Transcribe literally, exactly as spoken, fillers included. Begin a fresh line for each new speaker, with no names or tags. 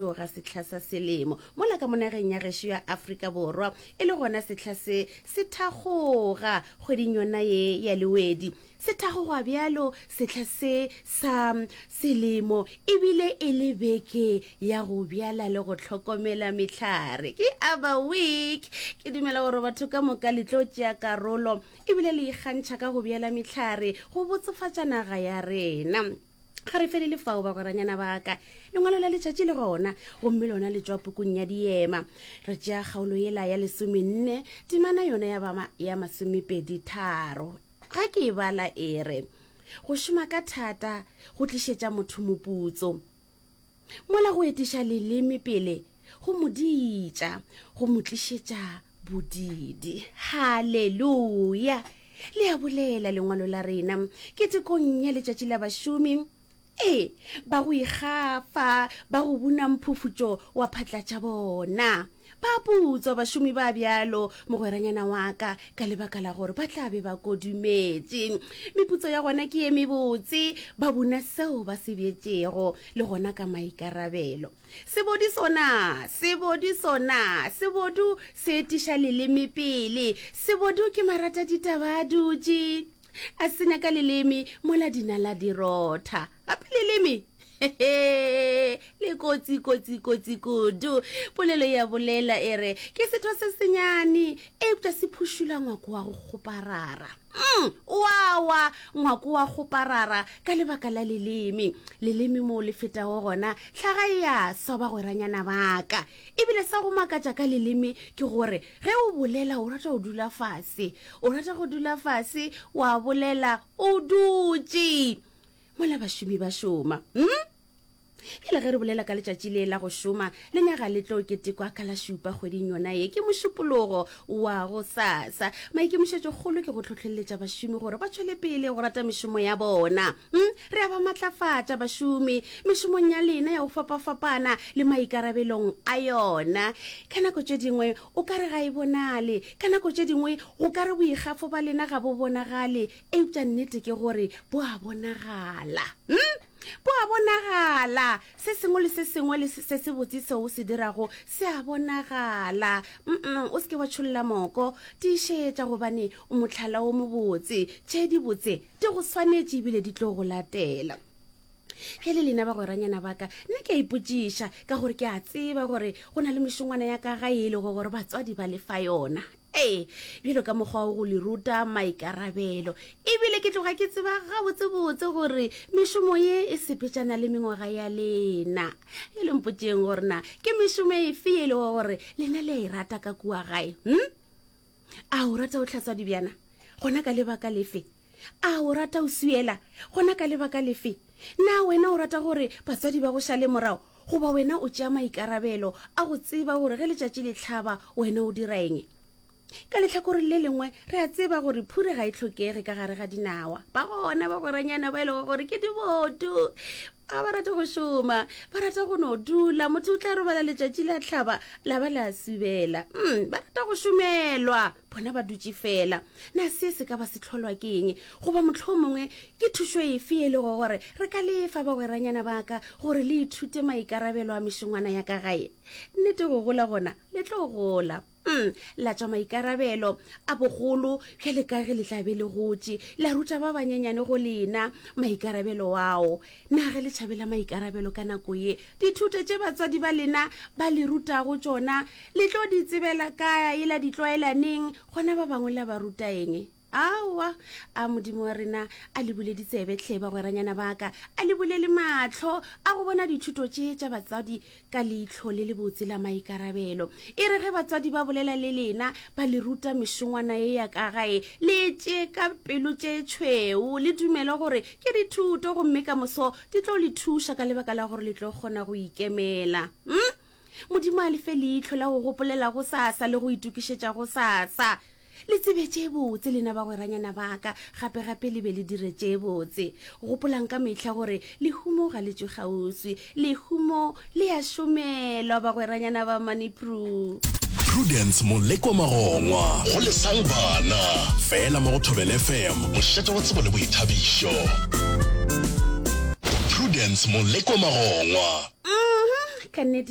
tloga sehla sa selemo mola ka mo nageng ya gešo ya Afrika Borwa e le gona sehla se se thakgoga kgweding yona ye ya Lewedi. Se thakgogwa bjalo sehla se sa selemo ebile e le beke ya go bjala le go hlokomela mehlare. Ke Aba Week. Ke dumela gore batho ka moka le tlo tšea karolo ebile le ikgantšha ka go bjala mehlare go botsofatša naga ya rena. Ga re felele fao bagweranyana ba ka. Lengwalo la letšatši le gona gomme lona le tšwa pukung ya Diema. Re tšea kgaolo yela ya lesomenne, temana yona ya ba ya masomepedi tharo. Ga ke e bala e re, Go šoma ka thata go tlišetša motho moputso, mola go etiša leleme pele go mo diitša, go mo tlišetša bodidi. Haleluya! Le a bolela lengwalo la rena ketekong ya Letšatši la Bašomi. Ee, ba go ikgafa, ba go buna mphufutšo wa phatla tša bona. Ba putswa bašomi ba bjalo, mogweranyana wa ka, ka lebaka la gore ba tla be ba kodumetše. Meputso ya gona ke ye mebotse, ba buna seo ba se bjetšego, le gona ka maikarabelo. Sebodu sona, sebodu sona, sebodu se etiša leleme pele. Sebodu ke marataditaba a dutše. A senya ka leleme mola dinala di rotha. Gape leleme hehe le kotsi kotsi kotsi kudu. Polelo ya bolela e re ke setho se senyane eupša se phušula ngwako wa go kgoparara. Mm, wa wa ngwako wa kgoparara ka lebaka la leleme. Leleme moo le fetago gona hlaga e a swa bagweranyana ba ka. Ebile sa go makatša ka leleme ke gore ge o bolela o rata go dula fase. O rata go dula fase wa bolela o dutše mola bašomi ba šoma. Hm? Bjale ge re bolela ka letšatši le la go šoma, lenyaga le tlo ketekwa ka la šupa kgweding yona ye, ke Mošupologo wa gosasa. Maikemišetšokgolo ke go hlohleletša bašomi gore ba tšwele pele go rata mešomo ya bona. Hm? Re a ba matlafatša bašomi mešomong ya lena ya go fapafapana le maikarabelong a yona. Ka nako tše dingwe o ka re ga e bonale, ka nako tše dingwe go ka re boikgafo ba lena ga bo bonagale, eupša nnete ke gore bo a bonagala. Hm? Bo a bonagala. Se sengwe le se sengwe le se sebotse seo o se dirago se a bonagala. Mm-mm, o se ke wa tšholla moko. Tiišetša gobane o mohlala o mobotse. Tše dibotse di go swanetše ebile di tlo go latela. Bjale lena bagweranyana ba ka, nna ke a ipotšiša, ka gore ke a tseba gore go na le mešongwana ya ka gae e lego gore batswadi ba le fa yona. Ee, bjalo ka mokgwa wa go le ruta maikarabelo. Ebile ke tloga ke tseba gabotsebotse gore mešomo ye e sepetšana le mengwaga ya lena. Bjale mpotšeng gore na ke mešomo efe e lego gore lena le a e rata ka kua gae? Hm? A o rata go hlatswa dibjana? Gona ka lebaka lefe? A o rata go swiela? Gona ka lebaka lefe? Na wena o rata gore batswadi ba go šale morago? Goba wena o tšea maikarabelo a go tseba gore ge letšatši le hlaba wena o dira eng? Ka lehlakoreng le lengwe, re a tseba gore phure ga e hlokege ka gare ga dinawa. Ba gona bagweranyana ba e lego gore ke dibodu, ga ba rate go šoma, ba rata go no dula. Motho o tla robala letšatši la hlaba la ba la subela. Mm, ba rata go šomelwa, bona ba dutše fela. Na se se ka ba se hlolwa ke eng? Goba mohlomongwe ke thušo efe e lego gore re ka lefa bagweranyana ba ka gore le ithute maikarabelo a mešongwana ya ka gae? Nnete go gola gona le tlo gola. Mm, la tšwa maikarabelo a bogolo bjale ka ge le tla be le gotše, la ruta ba banyenyane go lena maikarabelo ao. Na ge le tšhabela maikarabelo ka nako ye, dithuto tše batswadi ba lena ba le rutago tšona le tlo di tsebela kae, la di tlwaela neng, gona ba bangwe la ba ruta eng? Aowa, a Modimo wa rena a le bule ditsebe hle, bagweranyana ba ka, a le bule le mahlo a go bona dithuto tše tša batswadi ka leihlo le lebotse la maikarabelo. E re ge batswadi ba bolela le lena, ba le ruta mešongwana ye ya ka gae, le e tšee ka pelo tše tšhweu, le dumele gore ke dithuto gomme ka moso di tlo le thuša ka lebaka la gore le tlo kgona go ikemela. Hm? Modimo a le fe leihlo la go gopolela gosasa le go itokišetša gosasa. Le tsebe tše botse, lena bagweranyana ba ka, gape-gape le be le dire tše botse. Gopolang ka mehla gore lehumo ga le tšwe kgauswi. Lehumo le a šomelwa, bagweranyana ba Manipru.
Prudence Molekwa Magongwa. Go lesang bana. Fela mo go Thobela F M, mošate wa tsebo le boithabišo. Prudence Molekwa Magongwa.
Uhum, ka nnete.